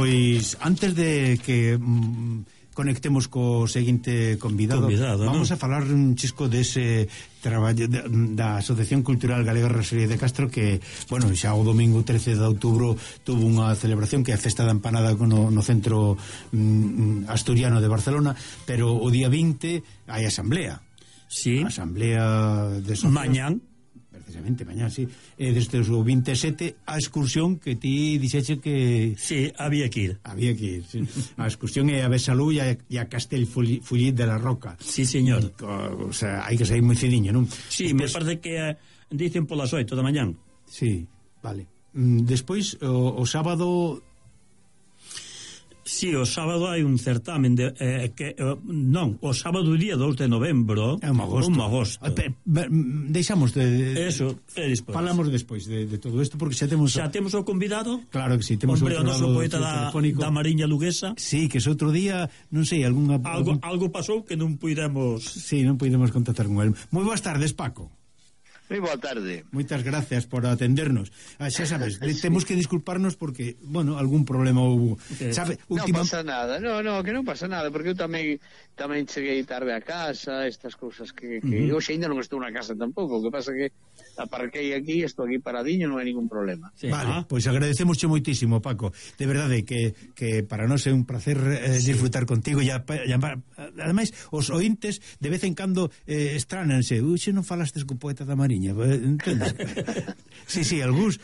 pois antes de que conectemos co seguinte convidado, vamos a falar un chisco dese traballo da Asociación Cultural Galega Rosalía de Castro, que, bueno, xa o domingo 13 de outubro tuvo unha celebración que é a Festa da Empanada no centro asturiano de Barcelona, pero o día 20 hai asamblea. Sí. Asamblea de socios. Mañán. Precisamente, mañán, sí. Desde o 27 a excursión que ti dixeche que... Sí, había que ir. Había que ir, sí. A excursión é a Besalú e a Castellfollit de la Roca. Sí, señor. O sea, hai que sair moi cediño, non? Sí, despois, me parece que dicen polas 8 da mañán. Sí, vale. Despois, o sábado... Sí, o sábado hai un certamen de, non, o sábado día 2 de novembro. É un agosto. Deixamos de eso, despois. Falamos despois de todo isto, porque xa temos o convidado. Claro que sí, temos o noso poeta da Mariña Luguesa. Sí, que ese outro día, non sei, algo pasou que non puidemos. Sí, non puidemos contactar con el. Moi boas tardes, Paco. Moi boa tarde. Moitas gracias por atendernos. Xa sabes, temos que disculparnos porque, bueno, algún problema houve. Sabe, non pasa nada. No, que non pasa nada, porque eu tamén cheguei tarde a casa, estas cousas que hoxe ainda non estou na casa tampouco, o que pasa que aparquei aquí, estou aquí paradiño, non hai ningún problema. Sí. Vale, pois agradecemosche moitísimo, Paco. De verdade que para nós é un placer disfrutar contigo e ademais os ointes de vez en cando estránanse. Uxe, non falastes co poeta da Mariña, entendes? Sí, algúns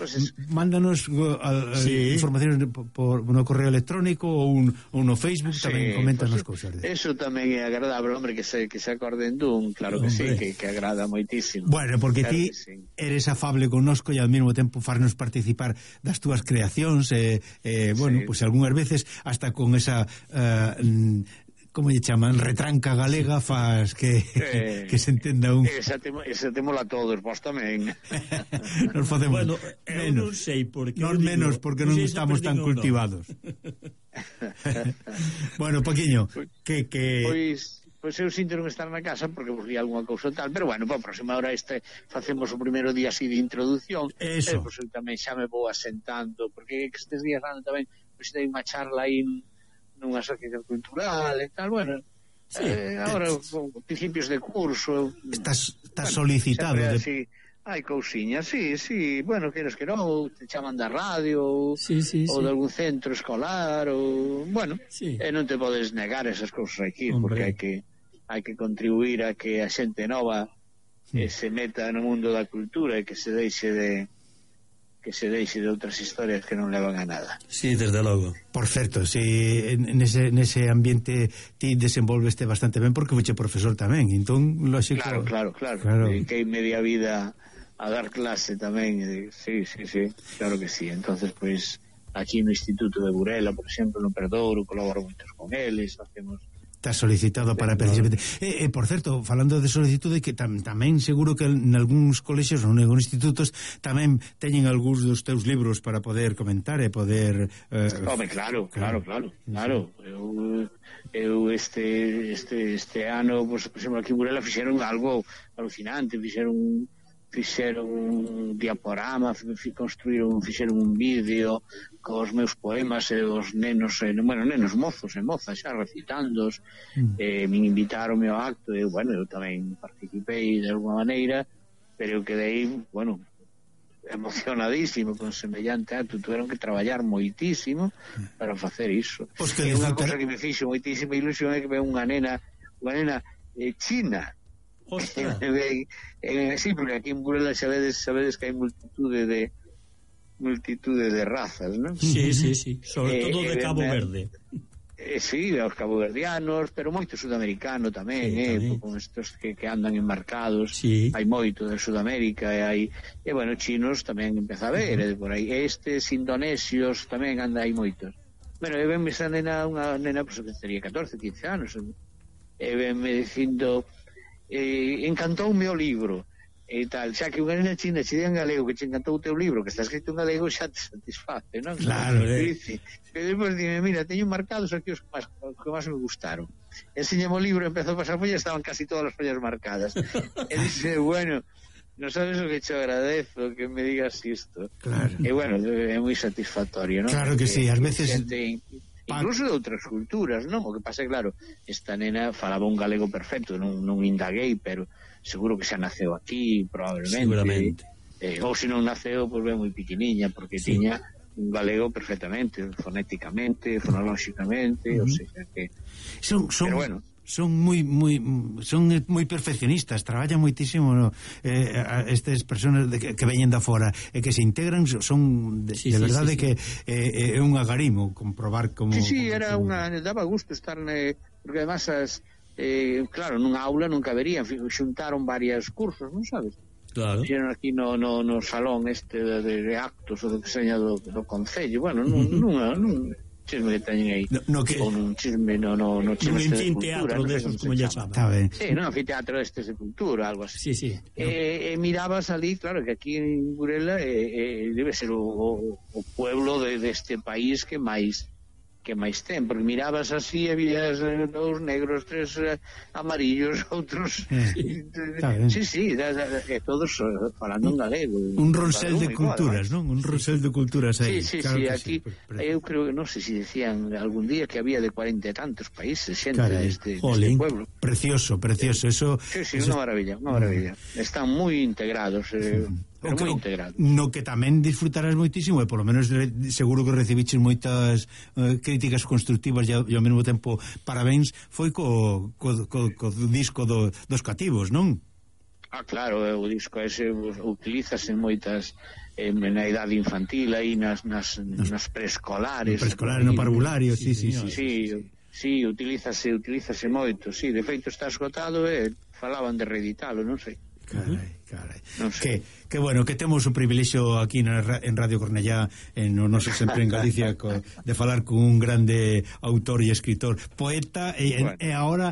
mándanos informacións no correo electrónico ou no Facebook, tamén comentan as cousas. Eso tamén é agradable, hombre, que se acorden dun, claro que sí, que agrada moitísimo. Bueno, porque ti eres afable connosco e ao mesmo tempo farnos participar das túas creacións, bueno, pois algunhas veces hasta con esa como lle chaman, retranca galega faz que se entenda un... Esa temos a todos, vos tamén. Nos facemos bueno, menos. Non sei porque non menos, porque non estamos tan cultivados. Bueno, Paquiño, que... Pois eu sinto non estar na casa porque vos di algunha cousa tal, pero bueno, para a próxima hora facemos o primeiro día así de introducción. Eso. Pois eu tamén xa me vou asentando, porque estes días tamén pois dei unha charla aí nunha asociación cultural e tal, bueno, sí, agora principios de curso estás solicitado de... hai cousiñas, sí, bueno, queres que non, te chaman da radio sí. ou de algún centro escolar ou, bueno, e non te podes negar esas cousas aquí, porque hai que contribuir a que a xente nova se meta no mundo da cultura e que se deixe de outras historias que non levan a nada. Sí, desde logo. Por certo, si nese ambiente ti desenvolveste bastante ben porque foche profesor tamén, entón lógico. Claro. Que media vida a dar clase tamén, sí, claro que sí. Entonces, pois, aquí no Instituto de Burela, por exemplo, no Perdouro, colaboro moitos con eles, facemos... Está solicitado para precisamente. Por certo, falando de solicitude, que tamén seguro que en algúns colexios ou en algúns institutos tamén teñen algúns dos teus libros para poder comentar e poder... Home, claro. Eu este ano, pues, por exemplo, aquí en Burela fixeron algo alucinante, fixeron un diaporama, fixeron un vídeo cos meus poemas e os nenos, nenos mozos e mozas xa recitándoos, me invitaron ao acto e, bueno, eu tamén participei de alguma maneira, pero eu quedei, bueno, emocionadísimo con semellante acto. Tuveron que traballar moitísimo para facer iso. E unha cosa que me fixo moitísima ilusión é que ve unha nena china. Sí, porque aquí en Burela sabedes que hai multitude de razas, non? Sí, sobre todo de Cabo Verde. Sí, os caboverdianos, pero moito sudamericano tamén, con estos que andan enmarcados, hai moito de Sudamérica e bueno, chinos tamén empeza a ver, por aí estes indonesios tamén anda aí moitos. Bueno, e venme esa nena, unha nena pues, que teria 14, 15 anos, e venme dicindo encantoume o libro e tal, xa que unha nena china che di en galego que che encantou o teu libro que está escrito en galego xa te satisface, non? Claro, e depois dime, mira, teño marcados aquí os que máis me gustaron. Enseñame o libro, empezou a pasar follas, estaban casi todas as follas marcadas e dice, bueno, non sabes o que te agradezo que me digas isto. Claro. E bueno, é moi satisfactorio, non? Claro que sí, ás veces incluso de outras culturas, non? O que pasa é, claro, esta nena falaba un galego perfecto, non indaguei, pero seguro que xa naceu aquí, probablemente. Seguramente. Ou se non naceu, pois ben moi pequeniña, porque tiña un galego perfectamente, fonéticamente, fonolóxicamente, o sea que... pero bueno, son moi perfeccionistas, traballan moitísimo, no? Estas personas que veñen da fora e que se integran son de verdade que é un agarimo comprobar como... Sí, era daba gusto estar porque además claro, nunha aula non caberían, xuntaron varios cursos, non sabes? Claro. Fixeron aquí no salón de actos ou do que seña do Concello, bueno, nun chisme que teñen aí, ou nun chisme no chisme de cultura, teatro desos, como ya saben. Está ben. Sí, non anfiteatro de cultura, algo así. Sí. Mirabas ali, claro, que aquí en Burela debe ser o pueblo deste país que máis ten, porque mirabas así e vías dous negros, tres amarillos, outros sí, todos falando en galego, un ronsel de culturas, non? Un ronsel de culturas aí. Sí, aquí eu creo que non sei se decían algún día que había de 40 e tantos países xente deste pueblo. Precioso, eso. Sí, unha maravilla. Están moi integrados, pero moi integrados. No que tamén disfrutarás moitísimo, e polo menos seguro que recibiches moitas críticas constructivas e ao mesmo tempo parabéns, foi co disco dos cativos, non? Claro, o disco ese utilízase en moitas na idade infantil, aí nas preescolares, no parvulario, sí. Sí, utilízase moito, sí, de feito está esgotado e falaban de reeditalo, non sei. Carai. Non sei. Que bueno, que temos o privilexio aquí en Radio Cornellá, no noso sempre en Galicia, de falar con un grande autor e escritor, poeta e agora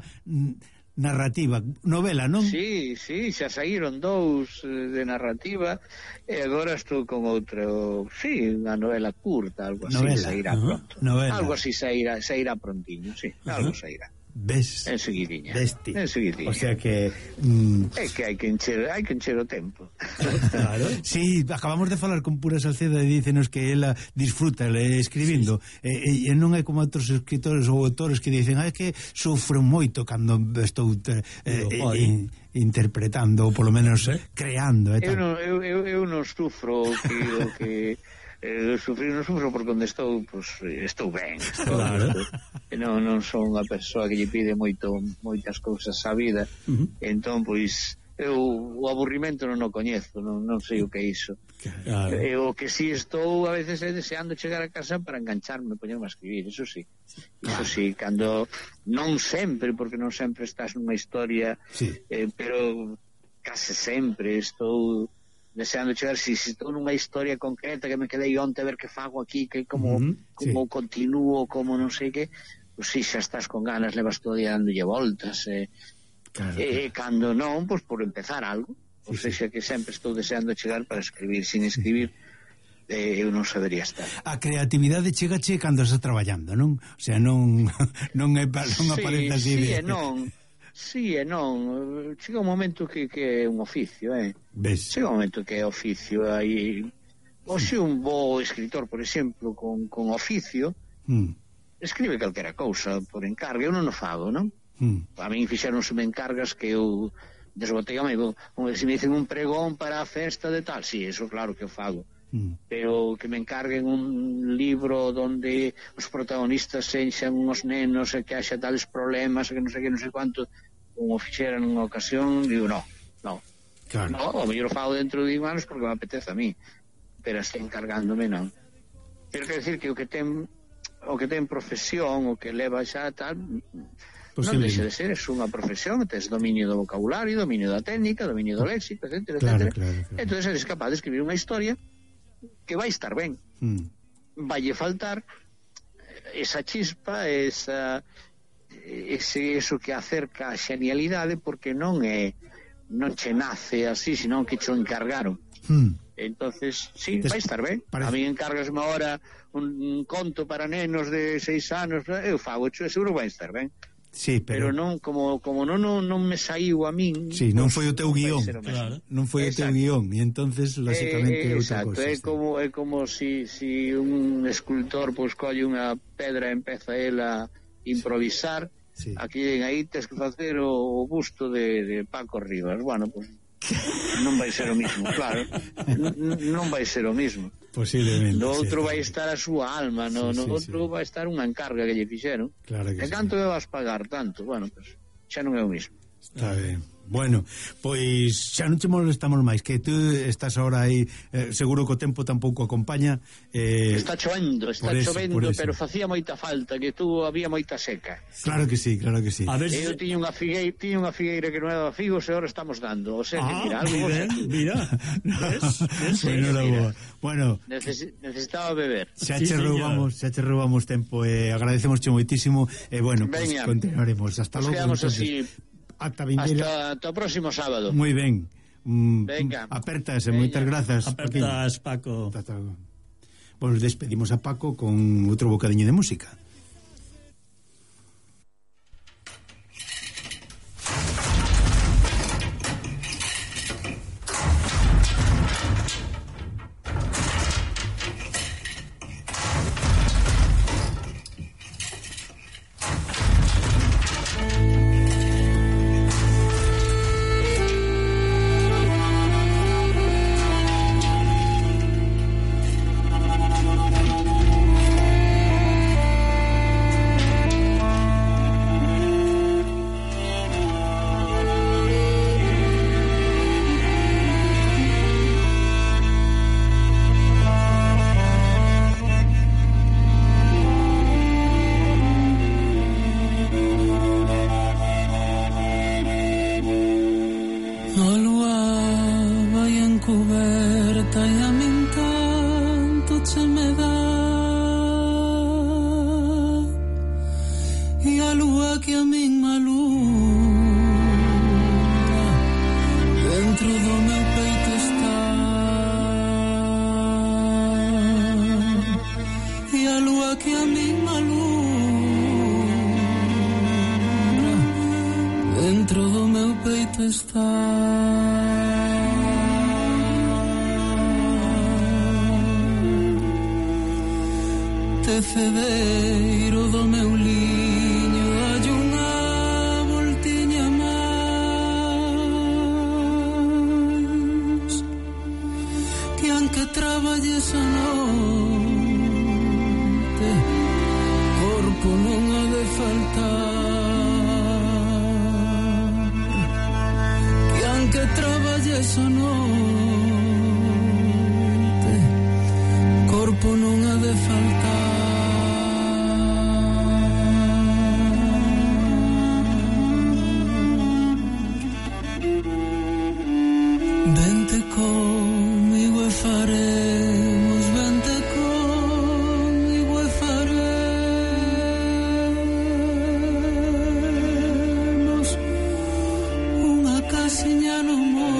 narrativa, novela, non? Sí, xa saíron dous de narrativa e agora estou con outro, unha novela curta, algo así, sairá pronto. Algo así sairá prontiño, sí, algo sairá. Ves? Enseguidinha. O sea que... É que hai que encher o tempo. Claro. Sí, acabamos de falar con Pura Salceda e dícenos que ela disfruta escribindo, e non é como outros escritores ou autores que dicen que sufro moito cando estou interpretando ou polo menos creando. Eu non sufro o que non sufro porque onde estou, estou ben, non son unha persoa que lle pide moitas cousas á vida, entón, eu o aburrimento non o coñezo, non sei o que é iso. O que si estou a veces deseando chegar a casa para engancharme, poñerme a escribir, eso sí, cando non sempre, porque non sempre estás nunha historia, pero case sempre estou deseando chegar, se estou nunha historia concreta que me quedei onte a ver que fago aquí, que como continúo, como non sei que, si xa estás con ganas, levas todo día dándolle voltas, cando non, por empezar algo, ou seja, que sempre estou deseando chegar para escribir, sin escribir eu non sabería estar. A creatividade chegache cando estás traballando, non? O sea, non aparece así de... Sí e non, chega un momento que é un oficio, chega un momento que é oficio, aí hoxe un bo escritor, por exemplo, con oficio, escribe calquera cousa por encargo, eu non o fago, non? A min fixeronse encargas que eu desbotei, se me dicen un pregón para a festa de tal, eso claro que o fago, pero que me encarguen un libro donde os protagonistas sexan uns nenos e que haxa tales problemas, que non sei quanto, como fixera nunha ocasión, digo, no, o mellor fago dentro de anos porque me apetece a mí, pero así encargándome non. Quero decir que o que ten profesión, o que leva xa tal, non deixa de ser, é unha profesión, tes dominio do vocabulario, dominio da técnica, dominio do léxico, etc. Entón eres capaz de escribir unha historia que vai estar ben, vaille faltar esa chispa, eso que acerca a xenialidade, porque non che nace así, senón que che encargaron. Entonces, vai estar ben. A mí encargasme ahora un conto para nenos de 6 anos, eu fago, seguro vai estar ben. Sí, pero non como non me saiu a min. Sí, non foi o teu guión. Claro. Non foi o teu guión, e entonces lógicamente outra exacto, cousa. é como si un escultor pois colle unha pedra e empeza el a improvisar. Sí. Aquí aí tes que facer o busto de Paco Rivas. Bueno, pois non vai ser o mismo, claro. Non vai ser o mismo. Posiblemente. No outro sí, vai estar a súa alma, no outro vai estar unha encarga que lle fixeron. Claro que e canto me vas pagar tanto? Bueno, pues xa non é o mismo. Está ben. Bueno, pois xa non che molestamos máis, que tú estás ahora aí, seguro que o tempo tampouco acompaña. Está chovendo, pero facía moita falta, que tú había moita seca. Claro que sí, claro que sí. A ver Eu tiña unha figueira que non era figos e ahora estamos dando. O sea, que mira, algo mira. Bueno, necesitaba beber. Xa che roubamos tempo, agradecemos moitísimo e bueno, pues continuaremos hasta logo. Quedamos así hasta o próximo sábado. Moi ben. Venga. Apertas, moitas grazas. Apertas, Paco. Bueno, despedimos a Paco con outro bocadiño de música. Tecedeiro do meu liño hai unha voltiña máis que aunque traballes a noite corpo non ha de faltar, que aunque traballes a noite corpo non ha de faltar. Vente comigo e faremos, vente comigo e faremos unha casiña no monte